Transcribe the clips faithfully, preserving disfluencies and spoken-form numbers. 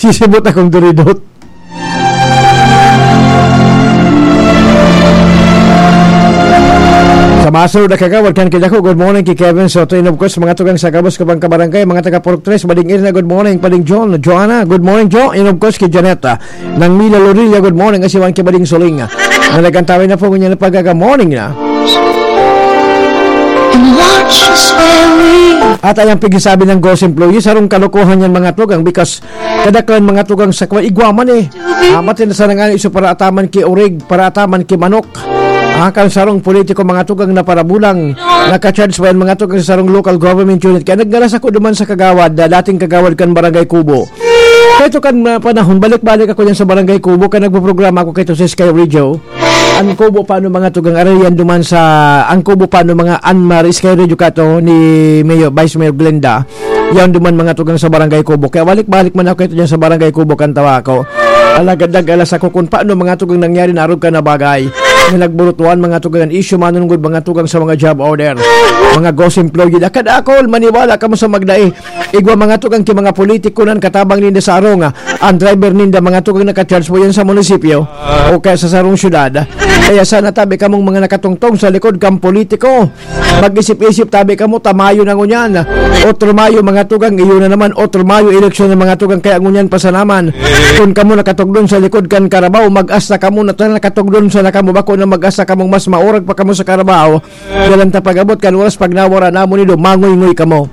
Sisibot akong duridot. Sa masunod na kagawad kan Kidako, good morning ki Kevin Soto. And of course, mga tugang sa gabos ko bang kabarangay, mga taga Purok Tres, Bading Irna, good morning, Bading John, Joanna, good morning, Jo. And of course, ki Janeta, nang Mila Lorilla, good morning, asiman ki Bading Soling. Na nagkantawin na po ngunyan na pagkaga-morning na. And watch us where we At ayang pigsabi ng Ghost Employee, sarong kalokohan yan, mga tugang, because kadaklan, mga tugang, sa kwa, igwa man eh. Ah, matin sa nangani iso para ataman ki orig, para ataman ki manok. Ah, kan sarong politiko, mga tugang, na parabulang, naka-charge pa yan, mga tugang, sa sarong local government unit. Kaya naggalas ako duman sa kagawad, ah, dating kagawad kan Barangay Kubo. Kaya ito kan, ah, panahon, balik-balik ako yan sa Barangay Kubo, kaya nagpo-programa ako kay ito sa Sky Radio. Ang Kubo, paano, mga tugang, aray yan duman sa, ang Kubo, paano, mga Anmar, Sky Radio kato ni Mayor, Vice Mayor Glenda. Yan duman, mga tugang, sa Barangay Kubo. Kaya balik-balik man ako ito dyan sa Barangay Kubo, kan tawa ko. Alagad nag-alas ako kung paano, mga tugang, nangyari na arog ka na bagay. Na nagburutuan, mga tugang, an issue manunungod, mga tugang, sa mga job order. Mga ghost employee, dakad akol, maniwala kamo sa magdai. Igwa, mga tugang, ki mga politiko nan katabang ninda sa arong, ah, ang driver ninda, mga tugang, naka-charge po yan sa munisipyo o kaya sa sarong syudad. Kaya sana tabi kamong mga nakatungtong sa likod kang politiko. Mag-isip-isip tabi kamo, ta Mayo na ngunyan. Otro Mayo, mga tugang, iyon na naman, otro Mayo, eleksyon na, mga tugang, kaya ngunyan pa sana man. Kung kamo nakatugdon sa likod kan karabaw, mag-asta kamo na ta nakatugdon sana kamo, bako na mag-asta kamong mas maurag pa kamo sa karabaw. Dalan ta pag-abot kan oras pag nawara namon nindo, mangoy-ngoy kamo.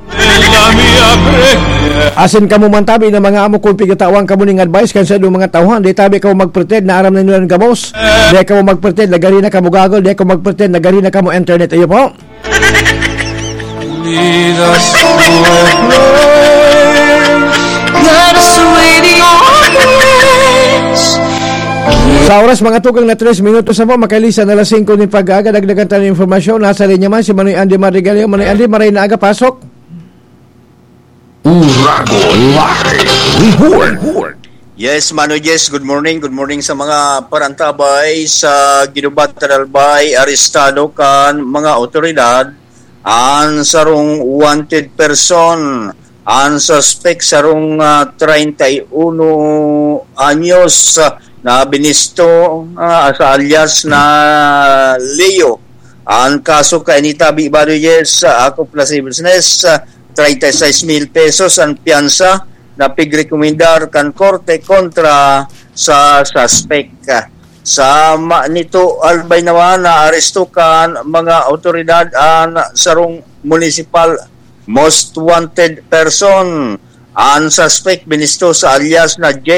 Asin kamo man tabi na mga amo, kung pigatawan kamo ning advice kan saindong mga tauhan, di tabi kamo magpretend na aram na nindo an gabos. Di kamo magpretend na gari na kamo Google, di kamo magpretend na gari na kamo internet. Ayo po. Lead us to a place. Let us wait in your place. Sa oras, mga tugang, na tres minutos na po, makalisa na alas singko nin pag-aga, dagdagan tayo ng impormasyon. Nasa linya man si Manoy Andy Marigaleo. Manoy Andy, maray na aga, pasok. Uragon Live Report. Yes, Manoy Jess, good morning. Good morning sa mga parantabay sa Guidobat, Albay, arestado kan mga otoridad. An sarong wanted person, an suspek, sarong, ah, treinta y uno anyos, ah, na binisto, ah, sa alias na Leo. An kaso kaini tabi, Manoy Jess, sa akop na si business, ah, treinta y seis mil pesos an piyansa na pigrekomendar kan korte kontra sa suspek. Sa ma-, nito, Albay naman, naaresto kan mga otoridad an sarong municipal most wanted person. An suspek binisto sa alias na J,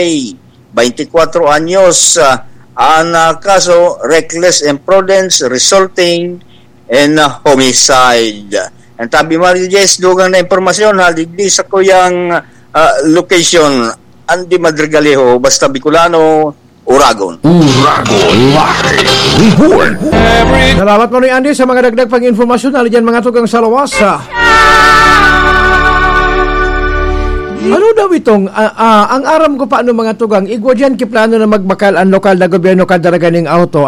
twenty-four anyos. Ah, an, ah, kaso, reckless imprudence resulting in, ah, homicide. Ang tabi, Manoy Jess, dugang na impormasyon, ha, digdi sa kuyang, ah, location, Andy Madrigalejo, basta Bicolano, Uragon. Uragon Live Report. Salamat, Manoy Andy, sa mga dagdag pang impormasyon. Hali dyan, mga tugang sa lawas, ha. Ano daw itong, ah, ah, ang aram ko paano, mga tugang, igwa dyan ki plano na magbakal ang lokal na gobyerno kada raga ning auto.